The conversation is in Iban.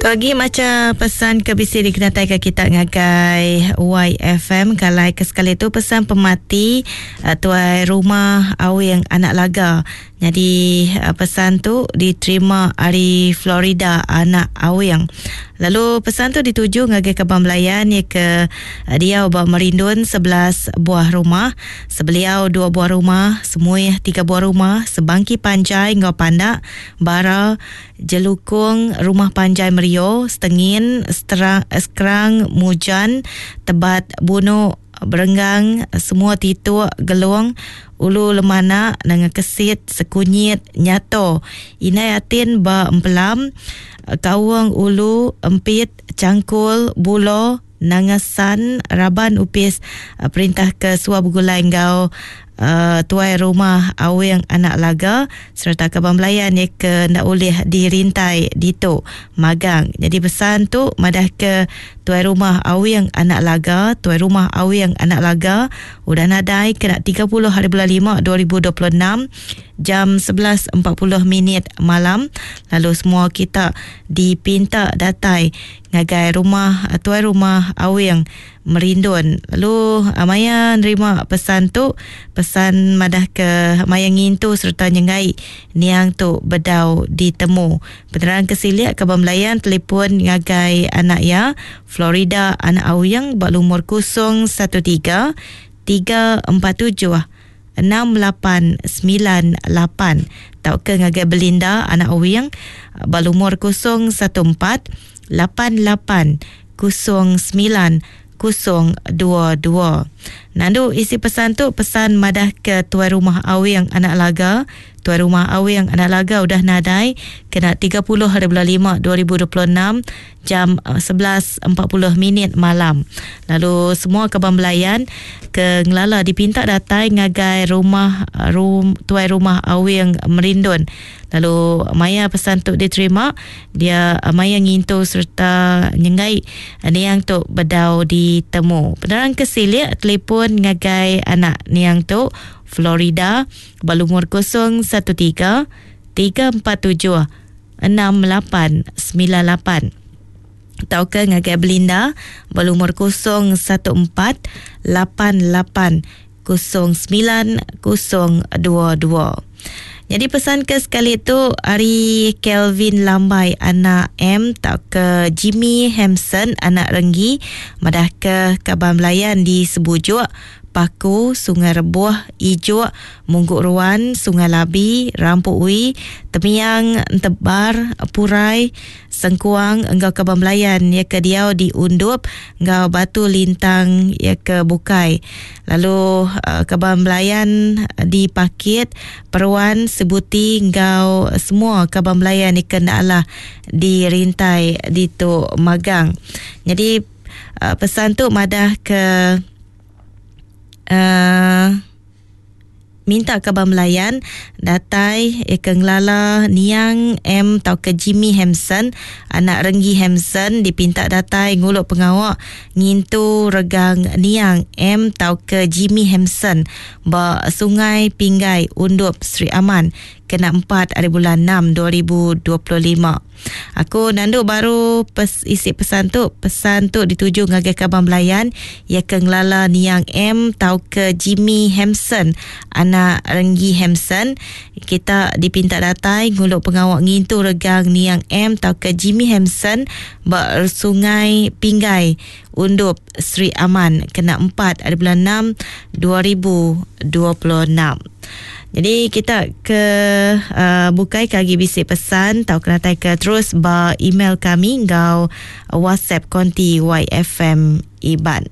Tu agi macha pesan ke bisi dikenataika kita ngagai YFM kalai ke sekali tu pesan pemati eh, tuai rumah Awing Anak Laga. Nyadi eh, pesan tu diterima ari Florida Anak Awing. Lalu pesan tu dituju ngagai kaban belayan iya ke eh, diau ba Merindun 11 buah rumah, Sebeliau dua buah rumah, Semuih tiga buah rumah, Sebangki Panjai enggau Pandak, Bara, Jelukung, Rumah Panjai Merio, Setengin, Seterang, Sekerang, Mujan, Tebat, Bunu, Berenggang, semua Tituk, Gelong, Ulu Lemanak, Nanga Kesit, Sekunyit, Nyato, Indai Atin ba Empelam, Kaung Ulu, Empit, Changkul, Bulo, Nanga San, raban opis perintah ke suah begulai enggau tuai rumah Awing Anak Laga sereta kaban belayan iya ke enda ulih dirintai ditu magang. Nyadi pesan tu madahka tuai rumah Awing Anak Laga, tuai rumah Awing Anak Laga udah nadai kena 30 hari bulan lima 2026 jam 11.40 minit malam lalu semua kita dipinta datai ngagai rumah tuai rumah Awing Merindun. Lalu maya nerima pesan tu, pesan madah ke maya ngintu sereta nyengai niang tu bedau ditemu. Penerang ke silik kaban belayan telefon ngagai anak iya, Florida anak Awing ba lumur 013 347 6898 tauka ngagai Belinda anak Owing ba lumur 014 88 09 022. Nandu isi pesan tu pesan madah ke tuai rumah Awing anak Laga, tuai rumah Awing anak Laga udah nadai kena 30 hari bulan 5 2026 jam 11.40 minit malam. Lalu semua kaban belayan ke ngelala dipinta datai ngagai rumah rum, tuai rumah Awing Merindun. Lalu maya pesan tu diterima, dia maya ngintu sereta nyenggai niang tu bedau ditemu. Penerang ke silik telefon ngagai anak niang tu Florida ba lumur 013 347 6898 tauka ngagai Belinda ba lumur 014 88 09 022. Nyadi pesan ke sekali tu ari Kelvin Lambai anak M tauka Jimmy Hampson anak Renggi madahka kaban belayan di Sebujuk Paku, Sungai Rebuh, Ijuk, Munggu Ruan, Sungai Labi, Rampu Ui, Temiang, Entebar, Purai, Sengkuang enggau kaban belayan iya ke diau di Undup enggau Batu Lintang iya ke bukai. Lalu kaban belayan di Pakit, Peruan, Sibuti enggau semua kaban belayan iya ke enda alah dirintai ditu magang. Nyadi pesan tu madah ke Uh, minta kaban belayan datai eh, ke ngelala Niang M tauka Jimmy Hampson anak Renggi Hampson dipinta datai ngulu pengawa ngintu regang Niang M tauka Jimmy Hampson ba Sungai Pinggai Undup Sri Aman kena 4 hari bulan 6 2025. Aku nandu baru pes, isi pesan tu. Pesan tu dituju ngagai kaban belayan iya ke ngelala Niang M tauka Jimmy Hampson, anak Renggi Hampson. Kita dipinta datai ngulu pengawa ngintu regang Niang M tauka Jimmy Hampson ba Sungai Pinggai, Undup, Sri Aman kena 4 hari bulan 6 2026. Jadi kita ke uh, bukai ke agi bisi pesan tau kena tai ke terus ba email kami enggau WhatsApp konti YFM Iban.